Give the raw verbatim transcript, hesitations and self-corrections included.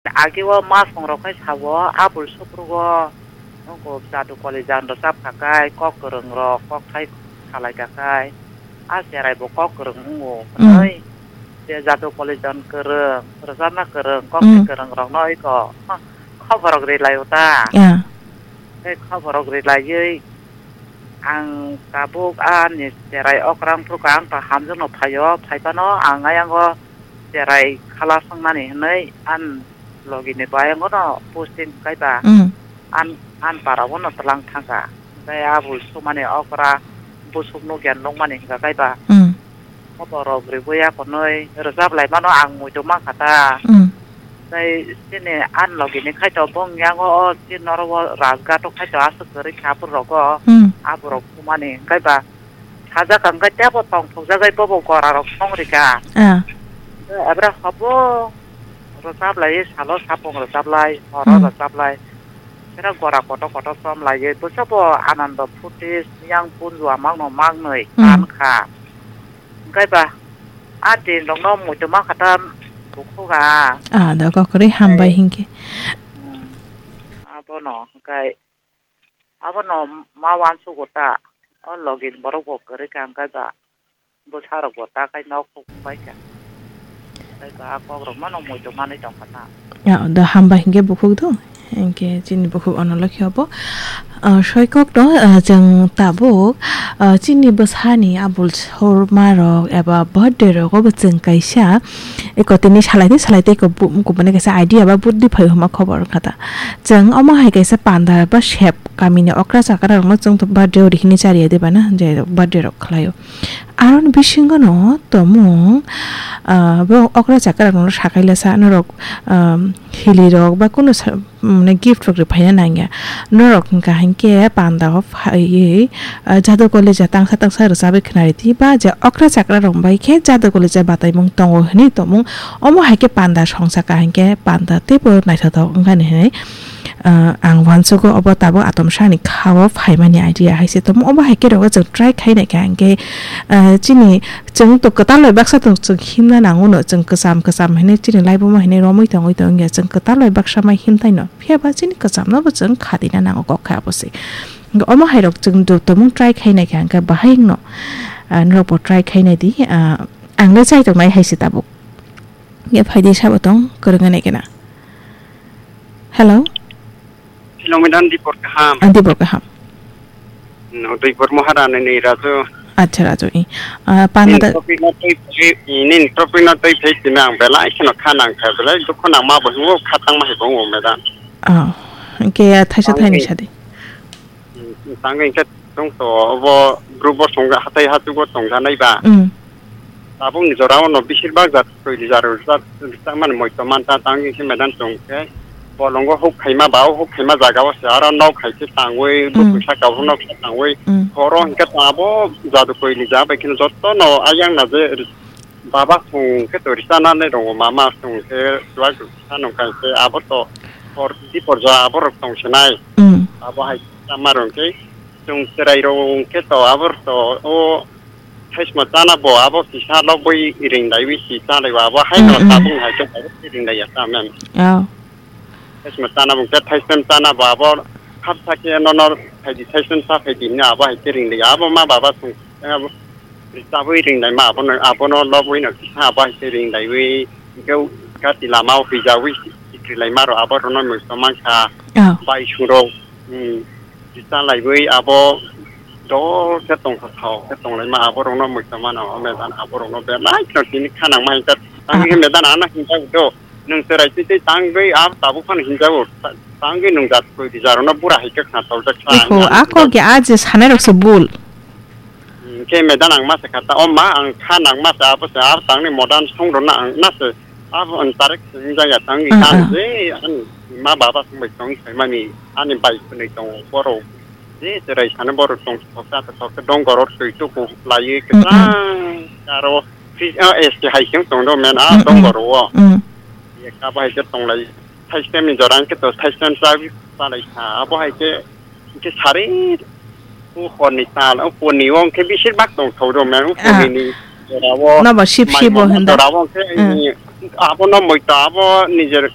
Agi o ma song rok khai sao, abul soprugo, nokho jadu koli jan rwchap kha khai, kok kwrwng rok, kok thai salai kha khai, a cherai bo kok kwrwng wngo Mm. hwnwi, je jadu koli jan kwrwng, rwchapna kwrwng, kok thai Mm. kwrwng rok no iko, ha, khobor rok ri lai o ta. Ya. Tei khobor rok ri laiwi, ang tabuk ani cherai okrang phuru ang ta hamjakno phaio, phai phano ang ayang o cherai khala swngmani hwnwi an logi ni bo ayang o no posting kaiba Mm. an, an para o no twlang thangkha. Tei abul sumani okra busuk no gen nukmani hwnkha kaiba. Mm. Khobor rok riwi akonwi rwchap lai mano ang muitu mankha ta. Mm. Tei chini ani logi ni khai to bong yango o chini oro o Rajghat o khai to aswk kwrwi kha aphuru rogo Mm. aborok thumani hwnkhe ba sajak hwnkhe tebo tongthok jagwi bobo gora rok song rika. Ah. Abra hobo rwchap lai salo sapung rwchap lai horo Mm. rwchap lai. Kera gora kotor kotor chom lai bwsabo anando phuti yang punju amang no mang nwi Mm. kan kha. Hwnkhe ba, a din rokno muitu ma kha ta bukhuk a. Ah, da kok kwrwi hambai Tei, hinkhe. Hmm, abono hwnkhe, abono ma uansugo ta, o login borok bo kwrwi kha hwnkhe ba, bwsa rok bo ta khai nok huk bai kha. Tei ba, a kok rok mano muitu manwi tong kha ta. Ya, da hambai hinkhe bukhuk do. Hinkhe chini bukhuk ono lokhi obo. Ah, soikok no, ah, chwng tabuk, ah, chini bwsani abul sorma rok eba birthday rogo bo chwng kaisa eko tini salai tei salai tei eko bu-, kubuni kaisa idea ba buddi phai hwnma khobor wngkha ta. Chwng omo hai kaisa panda ba sep kamini okra chakra rokno chwng birthday o rihini chariya de bana je birthday rok khlaio. Aroni bisingo no tomung, ah, bo okra chakra rokno sakailasa norok, ah, hili rok ba kunu sa-, mane gift rok rwphaina nangya. Norok hwnkha hinkhe panda o phaiwi, ah, jadu koli ja tangsa tangsa rwchabwi khwnaridi ba je okra chakra rok bai khe jadu koli ja bataimung tongo hwnwi tomung. Omo hai khe panda songsa ka hinkhe panda teibo naithothok wngkha ni hwnwi. Ah, ang uansugo obo tabuk atomsani kha-o phaimani idea hai se tongmo. Obo hai khe rogo chwng try khai naikha hinkhe, ah, chini chwng to kwtal bai baksa to chwng himna nango no, chwng kwcham kwcham hinwi chini laibuma hinwi romwi tongwi tongya chwng kwtal bai baksa mai himtai no. Phiya ba chini kwcham no bo chwng kha dina nango kok kha abo se. Hinkhe omo hai rok chwng joto mung try khai naikha hinkhe bahai wngno, ah, norok bo try khai naidi, ah, ang le chai tongnai hai se tabuk. Ye phaidi sabo tong kwrwngwi naikhe na. Hello? Hello, madam, dipor kaham. Ah, dipor kaham. No, dipor mohara ni, ni Raju. Acha, Raju, i. Ah, Nini panada topic no twi, nini topic no twi phai tini ang belai kheno kha nang kha belai dukhu nang ma bo hingo kha tang ma hai bo madam. Ah, ke thaisa Ang thaini ni sadi. Tangwi hwnkhe chwng to obo group o tongja, hatai hachugo tongjanai ba. Mm. Tabukni jora o no beshirbak jat twi rijak rwjak, rijak mani moito manta tangwi hwnkhe madam chwng khe bolongo huk khaima ba, o huk khaima jaga o se aro nok hai khe tangwi, mm, bwkwi saka o nok khe tangwi, mm, horo hwnkhe abo jadu twi rijak bai kheno joto no ayang na je Baba song khe to risa nani rongo mama song khe chuwak risa nung kai se abo to por di por ja abo rok tong sinai. Mm. Abo hai sama rong khe chwng cherai rong khe to abo to o thaisma chana bo abo kisa lobwi ring daiwi si chanai bo abo hai no, mm, mm, tabung hai khe ring dai ya ta men. Oh. Thaisma chana bo khe thaisem chana bo abo hapsa khe nono phaidi thaisem cha phaidi hwnwi abo hai khe ring dai ya abo ma baba song. Abo ri chabwi ring nai ma abono, abono lobwi no kisa abo hai se ring daiwi, hwnkhe gati lama o huijawi sikri lai ma rok abo rok no muisto mankha. Oh. Bai sung rok, hmm, ri cha laiwi abo dol khe tongthok thok khe tong lai ma abo rok no muisto mano, o medan abo rok no belai kheno tini kha nang ma hwnkhe. Ah. Tangwi khe medan ano hinjak do. Nwng cherai twi twi tangwi a tabuk phano hinjago. Ta-, tangwi nwng jat koi di jaro no bura hai khe khna toljak kha. Iho, a kok ya a je sanai rok se bul. Hmm, khe medan ang ma se kha ta, o ma ang kha nang ma se abo se a tangni modern song rok na ang na se abo ang tarek se hinjak ya tangwi, ah, kha ang, ah, je ani ma baba song bai tong sai mani ani bai khwnwi tongo borok. Je cherai sano borok tong thok ta thok ta dong gorok twi tuku laiwi, mm, mm, kwchang aro fridge, ah, S T hai khe tong do men, ah, mm, dong mm, gorok o. Mm. Ye kha bo hai khe tong lai. Thaistem ni jora hwnkhe to thaistem cha, cha lai kha. Abo hai khe, hwnkhe sari o hor ni tal, o hor ni o hwnkhe beshirbak tong thok do men, o hor ni, ah, ni jora o. Nobo sip mai sip bo mono hwnda. Jora o hwnkhe, mm, abo no moi to abo nijer